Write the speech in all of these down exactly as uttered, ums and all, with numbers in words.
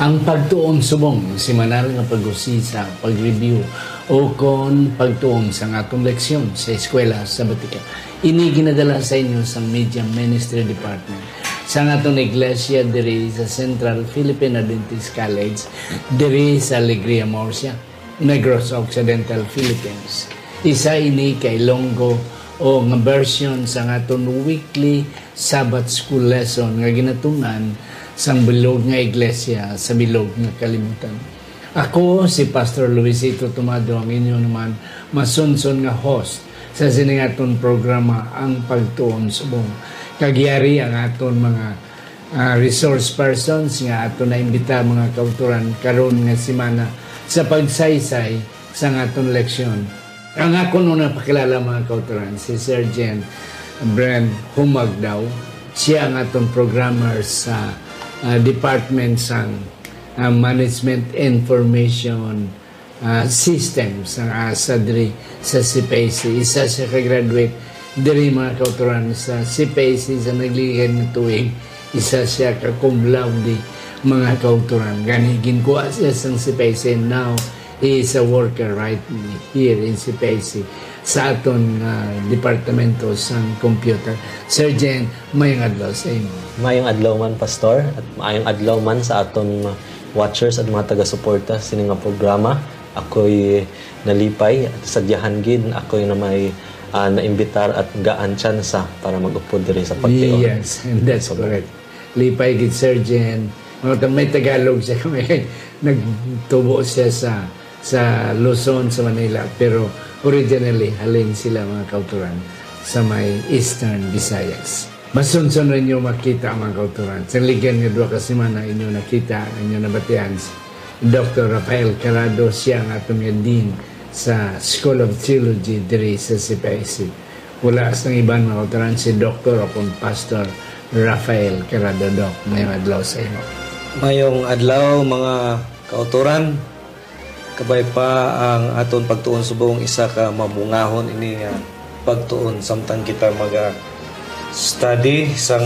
Ang pagtuon subong semanal nga pag-usisa, pag-review, o kon pagtuon sang aton leksyon sa eskwela sa Batika. Ini ginadala sa inyo sang Media Ministry Department sang aton iglesia diri sa Central Philippine Adventist College, diri sa Alegria, Murcia, Negros Occidental, Philippines. Isa ini ka Ilonggo o nga version sang aton weekly Sabbath School lesson nga ginatun-an sang bilog nga iglesia sa bilog nga kalibutan. Ako si Pastor Luisito Tomado, ang inyo naman masunson nga host sa sini nga aton programa, Ang Pagtuon Subong. Kag yari ang aton mga, ah, resource persons nga aton na-imbita, mga kautoran, karon nga semana sa pagsaysay sang aton leksyon. Ang akon una pakilala, mga kautoran, si Sergeant Bren Humagdaw. Siya ang aton programmer sa, ah, department sang, ah, Management Information, ah, System sang asa diri sa C P I C. Isa siya ka graduate diri, mga kautoran, sa C P I C sa nagligikan nga tuig. Isa siya ka cum laude, mga kautoran. Gani, ginkuha siya sang C P I C. Now, he is a worker right here in C P I C sa aton nga departamento sang computer. Sergeant, mayong adlaw sa imo. Mayong adlaw man, Pastor, at mayong adlaw man sa aton mga watchers at mga taga-suporta sini nga programa. Ako'y nalipay at sadyahan gid ako'y na may, ah, naimbitar at gaan tsansa para mag-upod diri sa Pagtuon. Yes, and that's correct. Lipay gid, Sergeant. Mga ta-, may Tagalog siya, may nagtubo siya sa, sa Luzon, sa Manila, pero originally, halin sila, mga kautoran, sa may Eastern Visayas. Masunson ninyo makita, mga kautoran. Sa ligan nga duha ka semana, inyo nakita, inyo nabatian si Doktor Rafael Carado, siya ang aton nga Dean sa School of Theology diri sa C P I C. Wala sang iban, mga kautoran, si Doktor o kon Pastor Rafael Carado. Doc, mayong adlaw sa imo. Mayong adlaw, mga kautoran. Kabay pa ang aton pagtuon subong, isa ka mabungahon ini nga pagtuon samtang kita maga-study sang,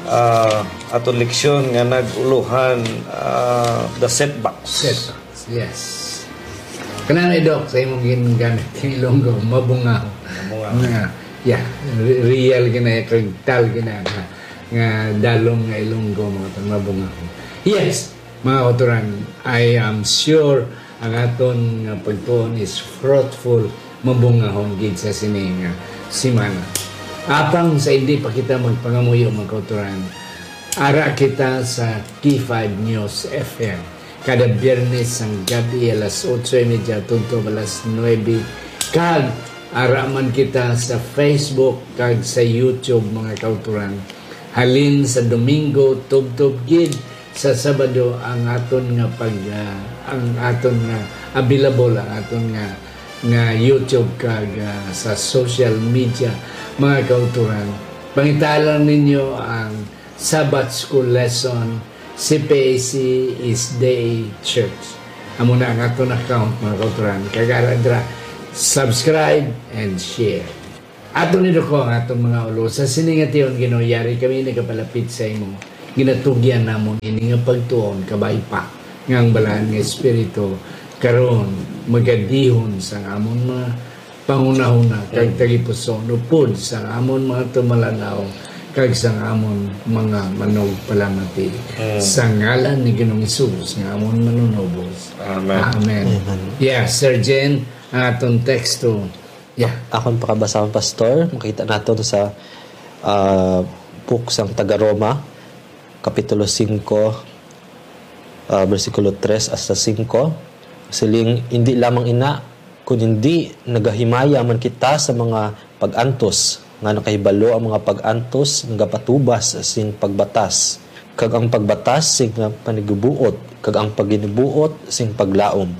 ah, aton leksyon nga nag-ulohan, ah, the setbacks. Setbacks, yes. Kana na, Doc, sa imong ginagamit nga Ilonggo, mabungaw. Mabungaw. Nga, yeah, re-, real gina, kag tal gina nga, nga dalom nga Ilonggo, mga tang mabungaw. Yes, mga kautoran, I am sure ang aton nga pagtuon is fruitful, mabungahon gid sa sini nga semana. Apang sa hindi pa kita magpangamuyo, mga kautoran, ara kita sa K five News F M. Kada Biyernes sang gab-i alas otso y media tubtob alas nuebe, kag ara man kita sa Facebook kag sa YouTube, mga kautoran. Halin sa Domingo tubtob gid sa Sabado ang aton nga pag, ah, ang aton nga available, ang aton nga, nga YouTube kag, ah, sa social media, mga kautoran. Pangita lang ninyo ang Sabbath School Lesson, C P A C is Day Church. Amo na ang aton account, mga kautoran. Kag ara dira, subscribe and share. Ato ni Duko ang atong mga ulo. Sa sini nga tion, Ginoo, yari kami nagapalapit sa imo. Ginatugyan namon ini nga pagtuon, kabay pa nga ang Balaan nga Espiritu karon magadihon sa amon mga panghunahuna kag Mm. tagipusoon, upod sa amon mga tumalan-aw kag sa amon mga manugpalamati. Mm. Sa ngalan ni Ginoong Hesus nga amon Manunubos. Amen. Amen. Amen. Yeah, Sir Jen, ang aton teksto. Yeah. Akon pakabasahon, Pastor. Makita naton sa, ah, book sang taga-Roma, Kapitulo singko, ah, bersikulo tres hasta singko. Siling, "Indi lamang ina, kun indi nagahimaya man kita sa mga pag-antos, nga nakahibalo ang mga pag-antos nagapatubas sing pagbatas, kag ang pagbatas sing panigbuot, kag ang paginibuot sing paglaom,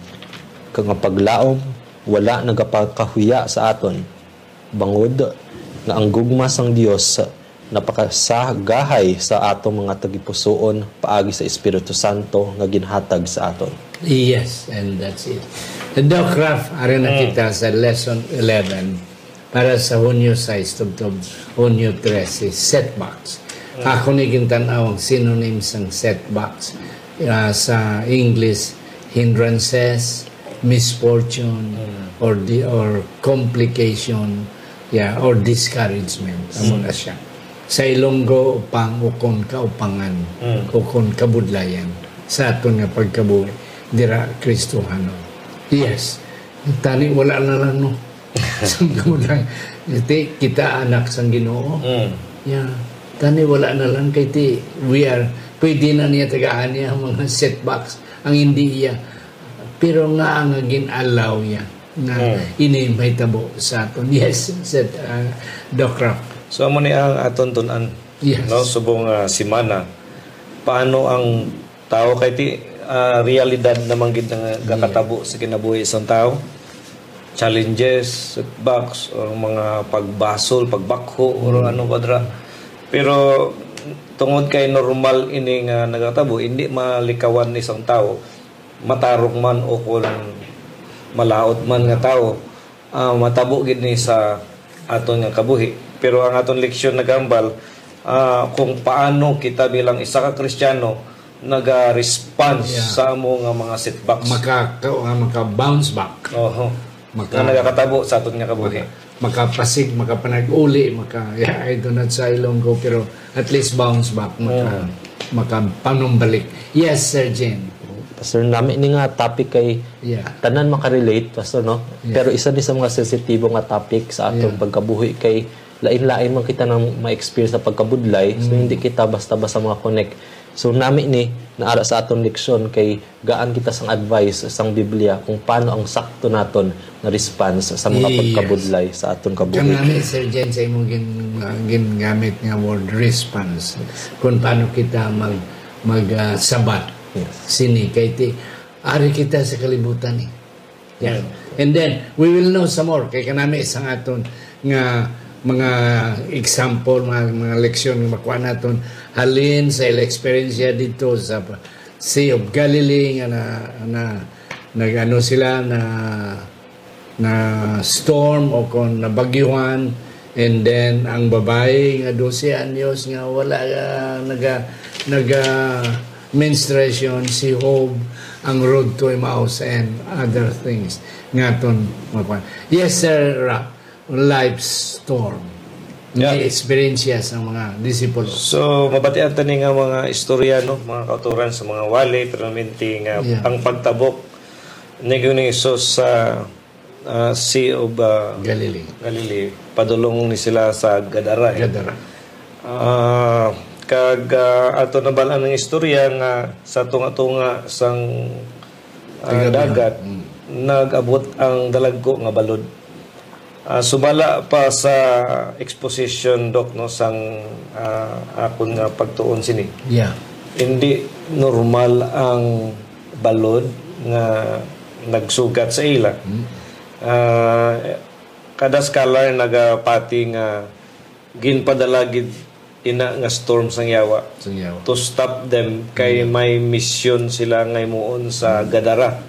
kag ang paglaom wala nagapakahuya sa aton, bangod nga ang gugma sang Dios napakasagahay sa atong mga tagipusoon paagi sa Espiritu Santo nga ginhatag sa aton." Yes, and that's it. Doc Raf, ari na Mm. kita sa lesson eleven para sa Hunyo sais tubtob Hunyo trese, setbacks. Mm. Ako ni gintan-aw ang synonym sang setbacks. Ah, sa English, hindrances, misfortune, Mm. or the, or complication, yeah, or discouragement. Amo Mm. na siya. Sa Ilonggo, upang, ukon kaupangan, Mm. ukon kabudlayan sa aton nga pagkabuhi dira Kristohanon. Yes. Tani, wala na lang, no? Sang kabudlayan. Ti, kita anak sang Ginoo. Mm. Yeah. Tani, wala na lang kay ti, we are, pwede na niya tagaan niya ang mga setbacks, ang hindi iya. Pero nga ang gin-allow niya nga Mm. ini mahitabo sa aton. Yes, said, uh, Doc Rock. So, amo ni ang aton tun-an, Yes. no? Subong, ah, semana. Paano ang tawo kay ti, ah, realidad naman gid nga Mm. gakatabo sa kinabuhi sang tawo? Challenges, setbacks, or mga pagbasol, pagbakho, or Mm. ano pa dira. Pero tungod kay normal ini nga nagatabo, hindi malikawan ni sang tawo, matarong man o kung malaut man nga tawo, ah, matabo gid ni sa aton nga kabuhi. Pero ang aton leksyon nagahambal, ah, kung paano kita bilang isa ka Kristiyano naga-response Yeah. sa amo nga mga setbacks. Maka-, ka-, ah, maka-bounce back. Oho. Maka- Nga nagakatabo sa aton nga kabuhi. Maka-, makapasig, makapanag-uli, maka, yeah, I do not sa Ilonggo, pero at least bounce back, maka-, Mm. makapanumbalik. Yes, Sir Jen. Pastor, nami ni nga topic kay Yeah. tanan makarelate, Pastor, no? Yeah. Pero isa ni sa mga sensitibo nga topic sa aton Yeah. pagkabuhi kay lain-lain man kita nang ma-experience sa pagkabudlay, so Mm. hindi kita basta-basta mga connect. So nami ni naara sa aton leksyon kay gaan kita sang advice sang Biblia kung paano ang sakto naton nga response sa mga Yes. pagkabudlay sa aton kabuhi. Kanami, Sir Jen, sa imong gin-, gingamit nga word, response. Kung paano kita mag, mag, ah, sabat Yes. sini. Kay ti, ari kita sa kalibutan, eh. Yeah. And then, we will know some more. Kay kanami sang aton nga mga example, mga, mga leksyon nga makuha naton halin sa ila eksperyensya dito sa Sea of Galilee nga na, na nag-ano sila na, na storm o kung nabagyuhan, and then ang babayi nga dose anyos nga wala, ah, naga, naga menstruation, si Job, ang road to Emmaus, and other things nga aton makuha. Yes, Sir Ra, life storm. Yeah. May experience siya sa mga disipulo. So, mabatian ta ni nga mga istorya, no? Mga kauturan sa mga wali, pero minti nga Yeah. ang pagtabok ni Ginoong Hesus sa, ah, Sea of, ah, Galilee. Galilee. Padulong ni sila sa Gadara, eh. Gadara. Ah, kag, ah, ato nabal-an ang istorya nga sa tunga-tunga sang, ah, Tigabihan. dagat, Mm. nag-abot ang dalagko nga balod. Ah, sumala pa sa exposition, Doc, no, sang, ah, akon nga pagtuon sini. Yeah. Hindi normal ang balod nga nagsugat sa ila. Mm. Ah, kada scholar nagapati nga ginpadala gid ina nga storm sang yawa Sang yawa. to stop them kay Mm. may misyon sila nga himuon sa Gadara.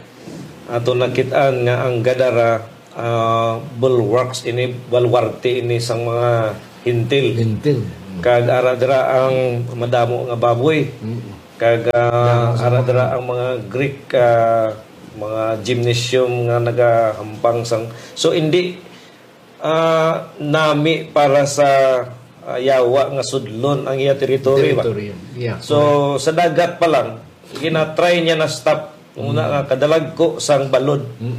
Ato nakit-an nga ang Gadara, ah, bulwarks ini, baluarte ini sang mga Hentil. Hentil. Mm. Kag ara dira ang madamo nga baboy. Mm. Kag, ah, Damo sa ara mga dira ang mga Greek, ah, mga gymnasium nga nagahampang sang, so, hindi, ah, nami para sa, ah, yawa nga sudlon ang iya teritoryo ba? Teritoryo. Yeah, So, correct. sa dagat pa lang, ginatry niya na stop. Una Mm. nga, kadalagko sang balod. Mm.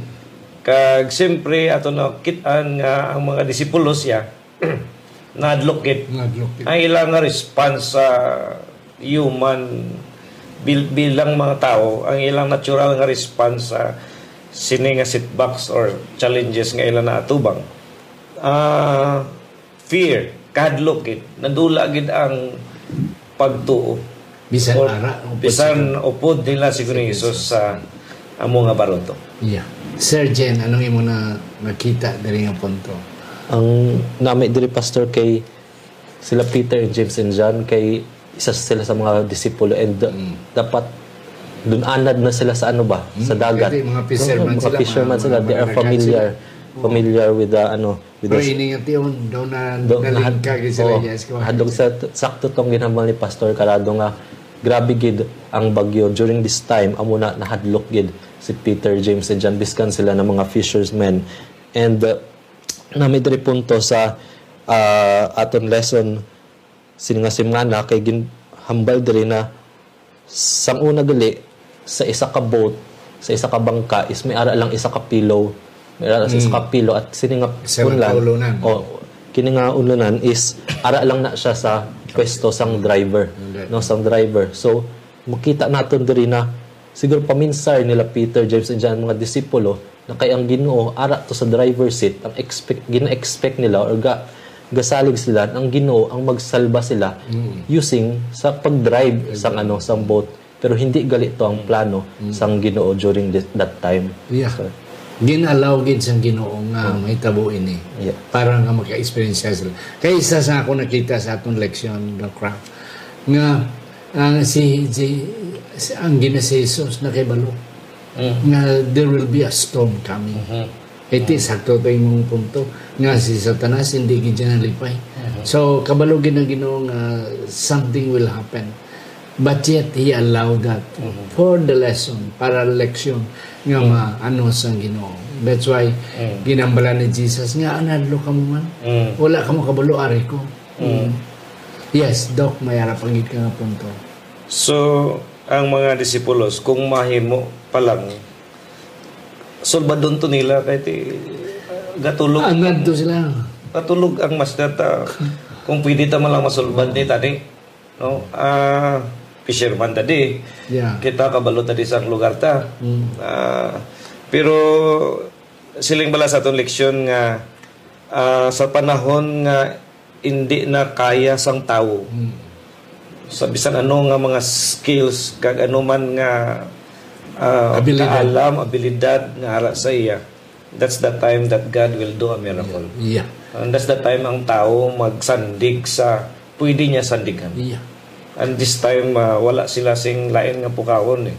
Kag siyempre, ato na kit-an nga ang mga disipulos siya, nadlok gid. Nadlok gid. Ang ilang nga response sa human, bil-, bilang mga tawo, ang ilang natural nga response sa sini nga setbacks or challenges nga ila naatubang, ah, fear, kahadlok gid, nadula gid ang pagtuo. Bisan Or ara, upod bisan sa upod nila si Ginoong Hesus sa amo nga baruto. Yeah. Sir Jen, anong imo na nakita diri nga punto? Ang nami diri, Pastor, kay sila Peter and James and John kay isa sila sa mga disipulo and Mm. dapat dun anad na sila sa ano ba, sa Mm, dagat. Kasi mga fisherman No, mga sila, fisherman mga, sila. mga They are managan familiar, sila. Oo. familiar with the, ano, with Pero the ini nga tion, daw na Do-, nalingka nahad-, gid sila, oh, yes, go ahead. hadlok sa t-, sakto tong ginhambal ni Pastor Carado nga Grabe gid ang bagyo. During this time, amo na nahadlok gid si Peter, James, and John, biskan sila na mga fishermen. And, uh, na may diri punto sa, uh, aton lesson sini nga semana, kay ginhambal diri na sang una gali, sa isa ka boat, sa isa ka bangka, is may ara lang isa ka pillow. May ara lang sa isa ka pillow at sini nga Isa lang unlan, ka ulunan. Oh, kini nga ulunan is ara lang na siya sa pwesto sang driver, Okay. no, sang driver. So, makita naton diri na siguro paminsar nila Peter, James, and John, mga disipulo, na kay ang Ginoo ara to sa driver seat, ang expect, gina-expect nila or ga, gasalig sila na ang Ginoo ang magsalba sila Mm. using sa pag-drive sang, ano, sang boat. Pero hindi gali to ang plano sang Ginoo during thi-, that time. Yeah. So, Gin-allow gid sang Ginoo nga mahitabo ini Yeah. para nga maka-experience sila. Kay isa sa ako nakita sa atong leksyon, Doc Rock, nga ang si, si, si ang Gina si Jesus nakibalo Mm. nga there will be a storm coming. Mhm. It is sakto to imong punto nga si Satanas hindi gid siya nalipay. Mhm. So, kabalo gid ang Ginoo nga something will happen. But yet, He allowed that Mhm. for the lesson, para leksyon nga Mhm. maano sang Ginoo. That's why Mhm. ginambalan ni Jesus nga, "Anadlo ka mo man. Mhm. Wala ka mo kabalo, ari ko." Mhm. Yes, Doc, may ara pa gid ka nga punto. So, ang mga disipulos, kung mahimo pa lang, sulbadon to nila kay ti, gatulog. Anad to sila. Gatulog ang master ta. Kung pwede ta man lang masulbad ni tani, no? Ah, fisherman ta di. Yeah. Kita kabalo ta di sa lugar ta. Mm. Ah, pero siling bala sa aton leksyon nga, ah, sa panahon nga hindi na kaya sang tawo. Mm. Sa bisan ano nga mga skills, kag ano man nga, ah, Abilidad. kaalam, abilidad nga ara sa iya, that's the time that God will do a miracle. Yeah. And that's the time ang tawo magsandig sa pwede niya sandigan. Yeah. And this time, ah, wala sila sing lain nga pukawon eh.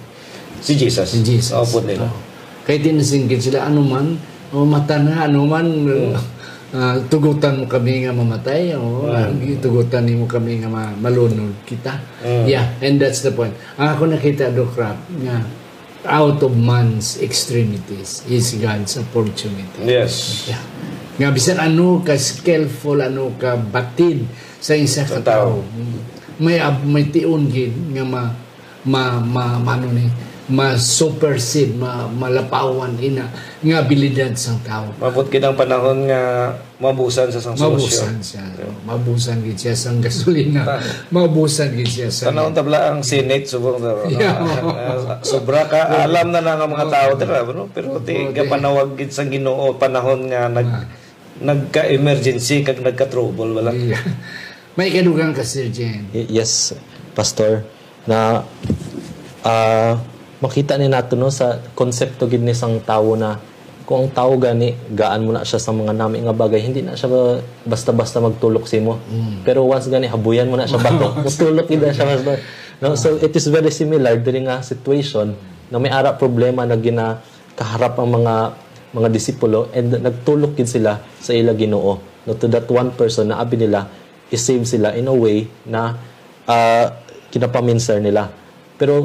Si Jesus. Si Jesus. Opo nila. Oh. Kay tinasinggit sila, "Ano man, o mata na, ano man, Mm. ah, tugutan mo kami nga mamatay, o Mm. tugutan nimo kami nga ma-, malunod kita." Mm. Yeah, and that's the point. Ang ako nakita, Doc Rap, nga out of man's extremities is God's opportunity. Yes. Yeah. Nga bisan ano ka skillful, ano ka batid sa isa ka Sa tao. tao, may ab-, may tion gid nga ma-, ma-, ma-, mano ni, ma-supersede, ma-, malapawan ina nga abilidad sang tao. Mabot gid ang panahon nga mabusan sa sang solusyon. Mabusan siya. Mabusan gid siya sang gasolina. Ta- Mabusan gid siya sa Tanawon tabla ang Senate, subong sa, Yeah. ah, sobra ka, alam na na nga mga Oo. tao, dira, no? Pero ti, Oo, ti. gapanawag gid sang Ginoo, panahon nga nag-, Ah. nagka-emergency kag nagka-trouble, wala? Yeah. May kadugang ka, Sir Jen. Y-, yes, Pastor. Na, ah, makita ni nato, no, sa konsepto gid ni sang tawo na kung ang tawo gani, gaan mo na siya sa mga nami nga bagay, hindi na siya ba-, basta-basta magtulok sa imo. Mm. Pero once gani, habuyan mo na siya bato, mutulok gid na siya, Pastor. No? So, it is very similar diri nga situation na may ara problema na ginakaharap ang mga, mga disipulo and nagtulok gid sila sa ila Ginoo. No, to that one person na abi nila, i-save sila in a way na, ah, kinapaminsar nila. Pero